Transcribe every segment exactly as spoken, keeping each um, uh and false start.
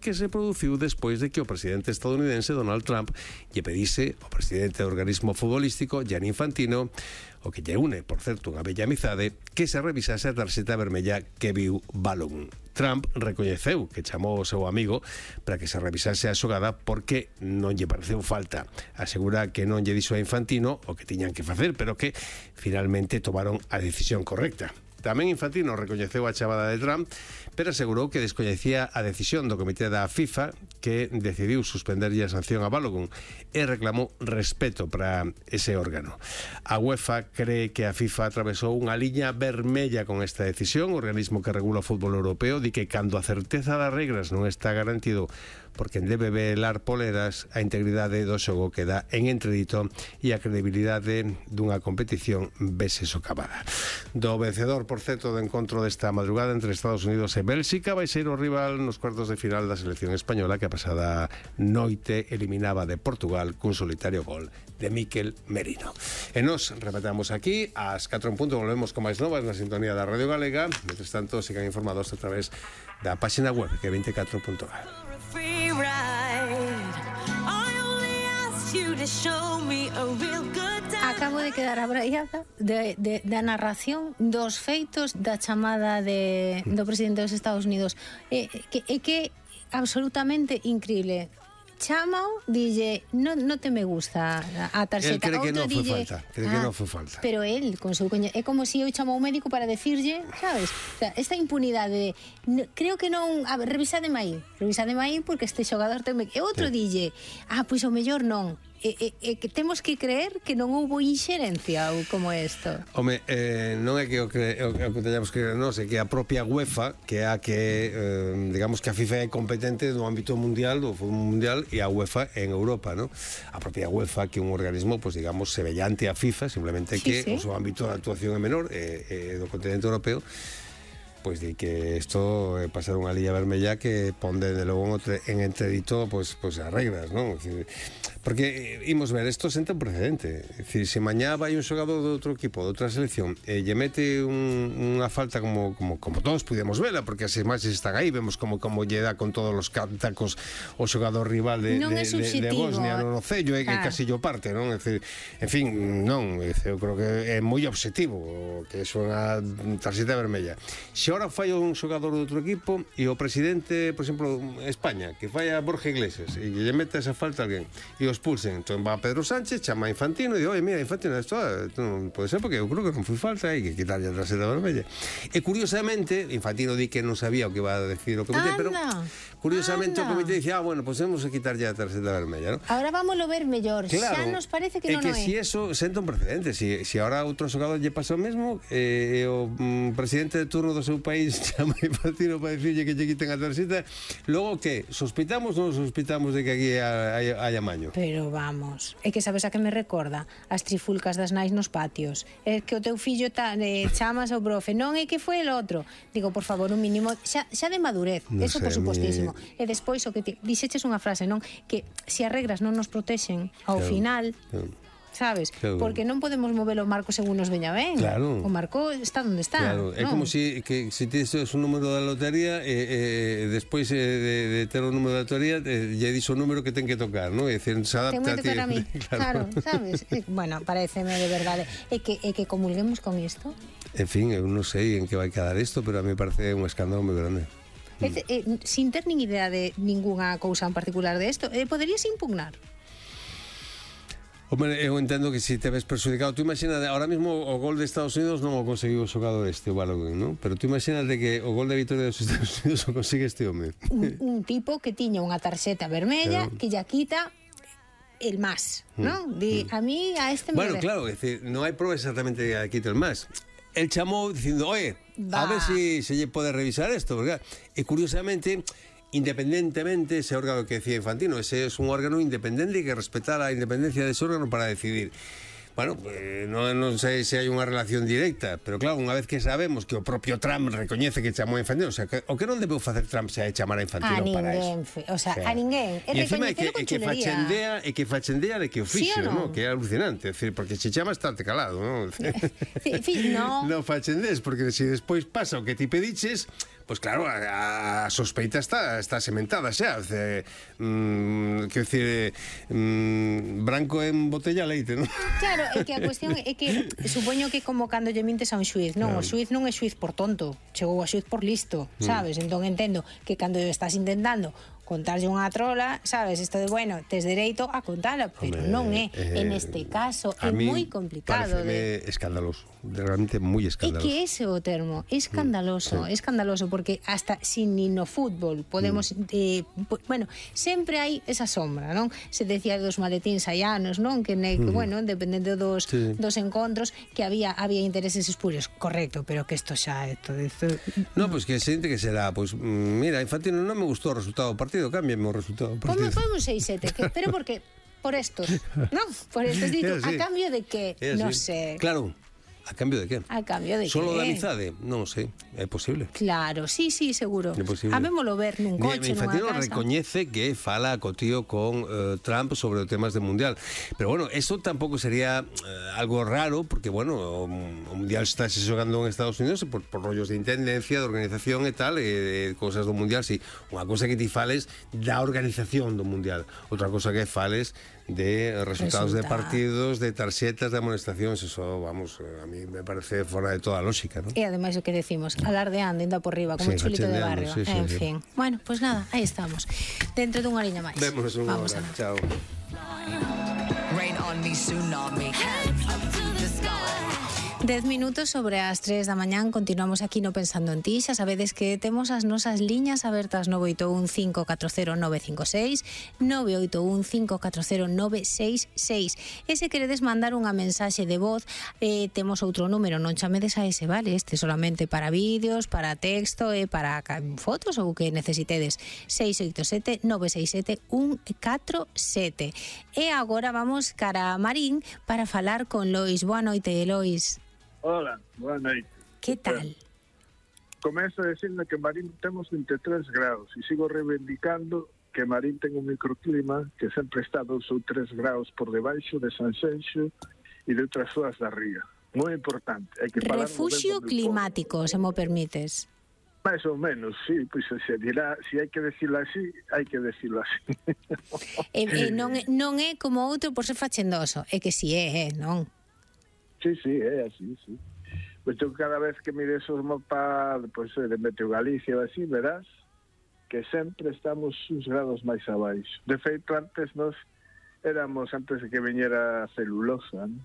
que se produciu despois de que o presidente estadounidense Donald Trump lle pedise ao presidente do organismo futbolístico Gianni Infantino, o que lle une, por certo, unha bella amizade, que se revisase a tarxeta vermella que viu Balogun. Trump recoñeceu que chamou o seu amigo para que se revisase a xogada porque non lle pareceu falta. Asegura que non lle dixo a Infantino o que tiñan que facer, pero que finalmente tomaron a decisión correcta. Tamén Infantino recoñeceu a chamada de Trump, pero asegurou que descoñecía a decisión do Comité da FIFA que decidiu suspenderlle a sanción a Balogun e reclamou respeto para ese órgano. A UEFA cree que a FIFA atravesou unha liña vermella con esta decisión. O organismo que regula o fútbol europeo di que cando a certeza das regras non está garantido por quen debe velar poleras, a integridade do xogo queda en entredito e a credibilidade dunha competición vese socavada. Do vencedor, por certo, do encontro desta madrugada entre Estados Unidos e Bélxica vai ser o rival nos cuartos de final da selección española, que a pasada noite eliminaba de Portugal cun solitario gol de Mikel Merino. E nos rematamos aquí ás catro en punto, volvemos con máis novas na sintonía da Radio Galega. Mentres tanto, sigan informados a través da página web que é veinticuatro punto gal. Acabo de quedar abraiada de, de, da narración dos feitos da chamada de, do presidente dos Estados Unidos. É que, é que absolutamente increíble. Chámao, dille, no, no te me gusta a tarxeta. El cree que non foi dille, falta, cree que ah, non foi falta. Pero él, con seu coñe, é como se eu chamo ao médico para decirlle, sabes? O sea, esta impunidade, no, creo que non, a ver, revisade aí, revisade aí porque este xogador ten... E outro sí. Dille, ah, pois o mellor non. E, e, e que temos que creer que non houbo inxerencia ou como isto. Home, eh, non é que o que, o, o que teñamos que creer, non, é que a propia UEFA, que é a que, eh, digamos que a FIFA é competente no ámbito mundial, do fútbol mundial, e a UEFA en Europa, non? A propia UEFA, que é un organismo, pues, digamos, semellante a FIFA, simplemente que sí, sí. O seu ámbito de actuación é menor, e, e do continente europeo, pois di que isto é pasar unha liña vermella que pon de logo en entredito pois, pois as regras, non? Porque, imos ver, isto senta un precedente. É dicir, se mañá vai un xogador de outro equipo, de outra selección, e lle mete un, unha falta como, como, como todos pudemos vela, porque as imaxes están aí, vemos como, como lle dá con todos os tacos o xogador rival de, de, de, de Bosnia no cello, e que casi yo parte, non? É dicir, en fin, non, eu creo que é moi obxectivo que é unha tarxeta vermella. Se ahora falla un xogador de outro equipo e o presidente, por exemplo, España, que falla Borja Iglesias e lle mete esa falta a alguén e o expulsen, entón va Pedro Sánchez, chama a Infantino e di, oi, mira, Infantino, isto non pode ser porque eu creo que non foi falta, hai que quitarlle a tarxeta vermella. E curiosamente, Infantino di que non sabía o que iba a decir o comité, pero curiosamente anda. O comité dice, ah, bueno, pues temos que quitarlle a tarxeta vermella, ¿no? Ahora vámoslo ver mellor, claro, xa nos parece que non é. É que é. si eso senta un precedente, si, si ahora outro xogador lle pasa o mesmo, e eh, o mm, presidente de turno do seu país chama a Infantino para dicirlle que lle quiten a tarxeta, logo que, sospitamos ou non sospitamos de que aquí hai, hai amaño? Pero vamos, é que sabes a que me recorda? As trifulcas das nais nos patios. É que o teu fillo ta, eh, chamas ao profe, non é que foi el outro. Digo, por favor, un mínimo, xa, xa de madurez, no eso sé, por supostísimo. Mi... E despois o que ti, dixeches unha frase, non? Que se as regras non nos protexen, ao claro, final... Claro. Sabes? Claro. Porque non podemos mover o marco según nos veña ben. Claro. O marco está onde está. Claro. É ¿no? Como si que si tes un número da lotería e eh, eh, despois eh, de, de ter o número da lotería eh, lle dixo o número que ten que tocar, ¿no? É dicir, se adapta a ti. A mí. Claro. Claro, sabes? Bueno, pareceme de verdade. É que é que comulguemos con isto. En fin, eu non sei en que vai quedar isto, pero a mí parece un escándalo moi grande. Mm. Eh, eh, sin ter nin idea de ninguna cousa en particular de isto, eh, poderías impugnar? Hombre, eu entendo que si te ves perxudicado. Tú imagina, ahora mismo o gol de Estados Unidos non o conseguiu o xogador este, o Balogun, non? Pero tú imagínate que o gol de victoria dos Estados Unidos o consigue este home. Un, un tipo que tiña unha tarxeta vermella, claro, que ya quita el más, non? Di, a mí, a este me... Bueno, claro, é dicir, non hai prova exactamente que quita el más. El chamou dicindo, oye, va, a ver si se lle pode revisar esto, porque, e curiosamente... independentemente ese órgano que decía Infantino, ese es un órgano independiente que respeta la independencia de ese órgano para decidir. Bueno, pues, non, non sei se hai unha relación directa, pero claro, unha vez que sabemos que o propio Trump recoñece que chamou a Infantino, o sea, que, o que non debeu facer Trump se hai chamar a Infantino a para ninguén, eso? O sea, o sea, a ninguén. E encima é que, é que fachendea, é que fachendea de que o fixo, ¿Sí no? Que é alucinante, é decir, porque se chama estarte calado, non? Sí, sí, no. Non fachendés, porque se despois pasa o que ti pediches, Pois claro, a, a sospeita está está sementada xa, ce, mm, que decir, mm, branco en botella leite, non? Claro, é que a cuestión é que supoño que como cando lle mintes a un xuiz, non, claro. O xuiz non é xuiz por tonto, chegou a xuiz por listo, sabes? Mm. Entón entendo que cando estás intentando contarlle unha trola, sabes, isto de, bueno, tes dereito a contala, pero Home, non é, eh, en este caso, é moi complicado. Pareceme de... escandaloso, realmente moi escandaloso. É que ese é o termo, escandaloso, mm, sí. escandaloso, porque hasta sin ni no fútbol podemos, mm. eh, bueno, sempre hai esa sombra, non? Se decía dos maletíns hai anos, non? Que, ne, que mm. bueno, dependendo dos, sí. dos encontros, que había había intereses espurios, correcto, pero que isto xa, isto, isto... No, pois pues que xente que será, pois, pues, mira, Infantino non me gustou o resultado do partido, cámbiame o resultado do partido. Como un seis sete, pero porque por estos, non? Por estos, dito, a cambio de que, non sé. Claro. A cambio de que? A cambio de Solo que? Solo da amizade? Non sei, é posible. Claro, sí, sí, seguro. É posible. Habémolo ver nun coche, nunha casa. Infantino recoñece que fala co tío con uh, Trump sobre os temas do Mundial. Pero bueno, eso tampouco sería uh, algo raro, porque bueno, o, o Mundial está se xogando en Estados Unidos por, por rollos de intendencia, de organización e tal, e, e cosas do Mundial, sí. Unha cosa que ti fales da organización do Mundial. Outra cosa que fales de resultados Resulta. de partidos, de tarxetas, de amonestacións, eso, vamos, a mí me parece fora de toda lógica, ¿no? E ademais o que decimos, alardeando, indo por riba, como sí, un chulito de barrio. Sí, sí, en sí. fin. Bueno, pues nada, aí estamos. Dentro dunha liña máis. Vémonos unha hora. Chao. Rain on me, tsunami. Dez minutos sobre as tres da mañán. Continuamos aquí no Pensando en Ti. Xa sabedes que temos as nosas liñas abertas nove oito un cinco catro cero nove cinco seis, nove oito un cinco catro cero nove seis seis. E se queredes mandar unha mensaxe de voz, eh, temos outro número, non chamedes a ese, vale? Este solamente para vídeos, para texto e para fotos ou que necesitedes. seis oito sete nove seis sete un catro sete. E agora vamos cara a Marín para falar con Lois. Boa noite, Lois. Hola, boa noite. Que tal? Comezo a decirme que Marín temos vinte e tres graus e sigo reivindicando que Marín ten un microclima que sempre está dous ou tres graus por debaixo de Sanxenxo e de outras zonas da ría. Moi importante. Hai que Refugio climático, se mo permites. Mais ou menos, sí, pois se dirá, se hai que decirlo así, hai que decirlo así. E, e non, non é como outro por ser fachendoso, é que si é, é, non? Sí, sí, é así, sí. Pois eu cada vez que mires os mapas, pois, de Meteo Galicia ou así, verás que sempre estamos uns grados máis abaixo. De feito, antes nos éramos, antes de que viñera a celulosa, ¿no?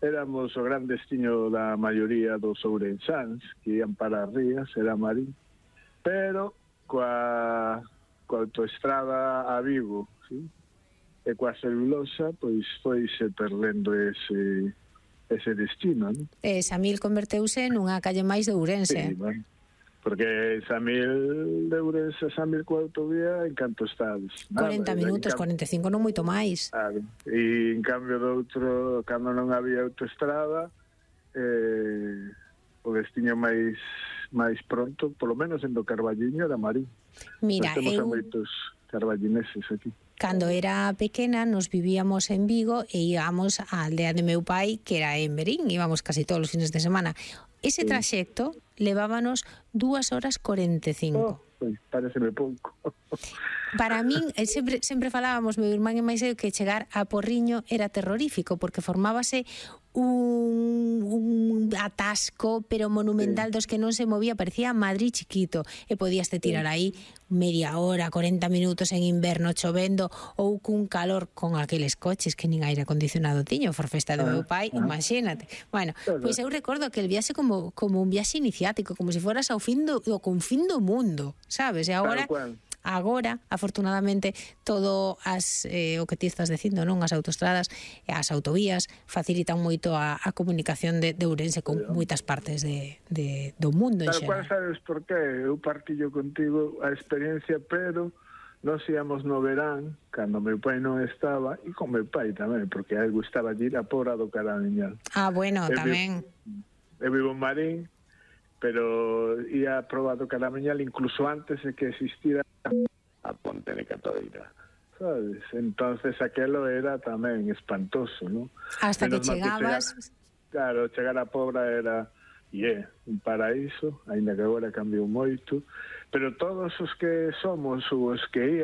Éramos o gran destino da maioría dos ourensáns que ian para as rías, era Marín. Pero coa, coa autoestrada a Vigo, ¿sí? E coa celulosa, pois foise perdendo ese... ese destino, ¿no? E Samil converteuse nunha calle máis de Ourense. Sí, bueno, porque Samil de Ourense, Samil coa autovía, en canto estades? cuarenta minutos, cam... cuarenta e cinco, non moito máis. Claro, e en cambio do outro, cando non había autoestrada, eh, o destino máis máis pronto, polo menos en do Carballiño, era Marín. Mira, Nos temos eu... a moitos carballineses aquí. Cando era pequena nos vivíamos en Vigo e íbamos á aldea de meu pai, que era en Verín, íbamos casi todos os fines de semana. Ese traxecto levábanos dúas horas cuarenta e cinco. Oh, pues, pareceme pouco. Para min, sempre, sempre falábamos, meu irmán e máis eu, que chegar a Porriño era terrorífico, porque formábase un, un atasco, pero monumental, sí, dos que non se movía, parecía Madrid chiquito, e podías te tirar aí media hora, cuarenta minutos en inverno chovendo, ou cun calor con aqueles coches que nin aire acondicionado tiño, for festa do meu pai, ah, imagínate. Bueno, pois pues eu recordo que el viaxe como, como un viaxe iniciático, como se foras ao fin do, do confín do mundo, sabes? E agora... Agora, afortunadamente, todo as, eh, o que ti estás dicindo, non? As autoestradas e as autovías facilitan moito a, a comunicación de, de Ourense con moitas partes de, de, do mundo en xeral. Cual sabes por qué? Eu partillo contigo a experiencia, pero nos íamos no verán, cando meu pai non estaba, e con meu pai tamén, porque a él gustaba ir a Pobra do Caramiñal. Ah, bueno, eu tamén. Vivo, eu vivo en Marín, pero ia a Proba do Caramiñal incluso antes de que existira a Ponte de Catoira, sabes? Entonces aquelo era tamén espantoso, ¿no? Hasta Menos que chegabas... Que chegar, claro, chegar a Pobra era... e é un paraíso, aínda que agora cambiou moito, pero todos os que somos ou os que